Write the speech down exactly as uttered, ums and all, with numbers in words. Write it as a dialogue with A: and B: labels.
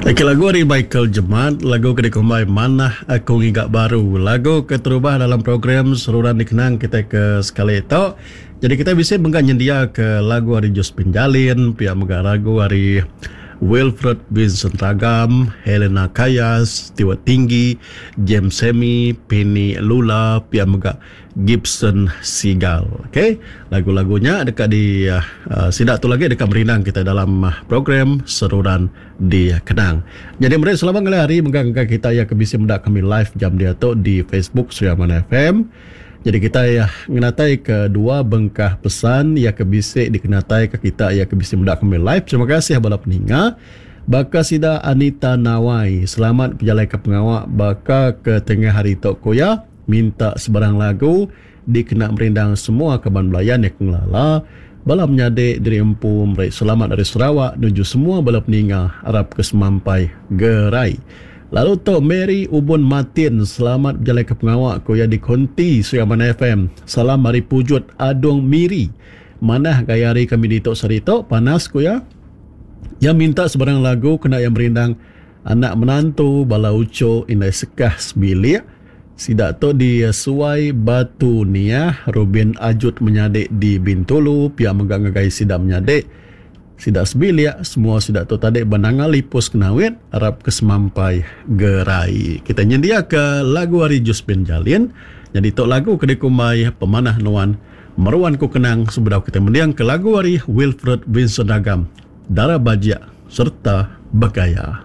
A: Laki lagu ari Michael Jemat, lagu ke dikumbai Manah Aku Ngiga Baru. Lagu keterubah dalam program Seruran Dikenang kitai ke sekali tu. Jadi kitai bisi mega nyendiaka lagu ari Josephine Jalin, pia mega lagu ari Wilfred Vincent Ragam, Helena Kayas, Stewart Tinggi, James Sammy, Penny Lula, pia mega Gibson Sigal. Okey, lagu-lagu nya deka di uh, sida tu lagi deka merindang kita dalam uh, program Seruran Dikenang. Jadi meri selamat ngalih hari mega ngagai kita ya ke bisi meda kami live jam dia tu di Facebook Sri Aman F M. Jadi kita ya ngenatai ke dua bengkah pesan ya ke bisi dikenatai ke kita ya ke bisi meda kami live. Terima kasih bala peninga. Baka sida Anita Nawai, selamat berjalai ke pengawa baka ke tengah hari tu ko ya, minta sebarang lagu dikena merindang semua kaban belayan yang ngelala. Bala menyadik diri empu meri selamat dari Sarawak nuju semua bala peninga arap ke semampai gerai. Lalu tu Mary Ubun Martin, selamat berjalai ke pengawa ko ya di Konti Sri Aman F M. Salam hari Pujut Adung Miri. Manah gaya hari kami di tok sehari tok panas ko ya. Yang minta sebarang lagu kena yang merindang anak menantu bala uco indai sekah sebilik. Sida tu di Suai Batu Niah, Rubin Ajut menyadik di Bintulu, pia mega ngagai sida menyadik. Sida sebilik, semua sida tu tadi benanga lipus kenawit, arap ke semampai gerai. Kita nyendia ke lagu ari Josephine Jalin. Jadi tu lagu ke dikumbai Pemanah Nuan Meruan Ku Kenang sebedau kita mendiang ke lagu ari Wilfred Vincent Agam, Dara Bajik serta Begaya.